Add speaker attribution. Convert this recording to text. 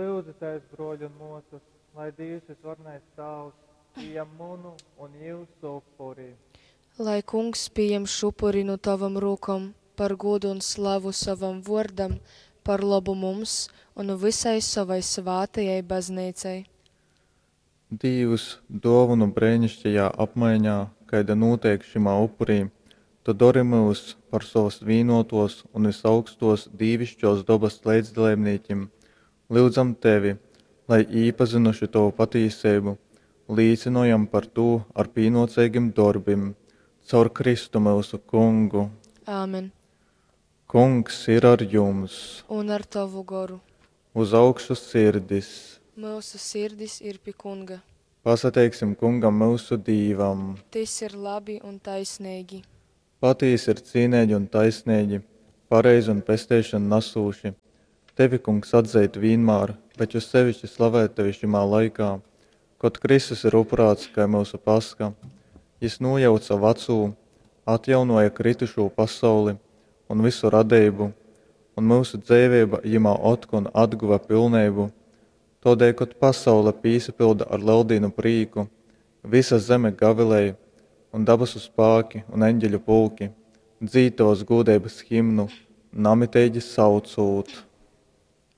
Speaker 1: Lyudzitēs, brōļi un mōsas, lai Dīvs vysvarenais Tāvs pījam munu un jyusu upuri.
Speaker 2: Lai Kungs pījam šupuri nu tovom rūkom par gūdu un slavu sovam vōrdam, par lobu mums un vysai sovai svātajai Bazneicai.
Speaker 3: Dīvs, dōvonu breiniškajā apmaiņā, kaida nūteik šymā upurī, tu dori myus par sovas vīnōtōs un vysaugstōs dīviškōs dobas leidzdaleibnīkim. Lyudzam tevi, lai, īpazynuši tovu patīseibu, līcynojam par tū ar pīnōceigim dorbim. Caur Kristu myusu Kungu.
Speaker 2: Āmen.
Speaker 3: Kungs ir ar jums.
Speaker 2: Un ar tovu goru.
Speaker 3: Uz augšu sirdis.
Speaker 2: Myusu sirdis ir pi Kunga.
Speaker 3: Pasateiksim Kungam myusu Dīvam.
Speaker 2: Tys ir labi un taisneigi.
Speaker 3: Patīsi ir cīneigi un taisneigi, pareizi un pesteišonu nasūši tevi, Kungs, atzeit vīnmār, bet jo seviški slavēt tevi šymā laikā, kod Kristus ir upurāts kai myusu Pascha. Jys nūjauce vacū, atjaunōja krytušū pasauli un vysu radeibu, un myusu dzeiveiba jymā otkon atguva pilneibu. Tōdēļ, kod pasaule pīsapylda ar Leldīnu prīku, vysa zeme gavilej, un dabasu spāki un eņģeļu pulki dzīd tovas gūdeibas himnu, namiteigi saucūt.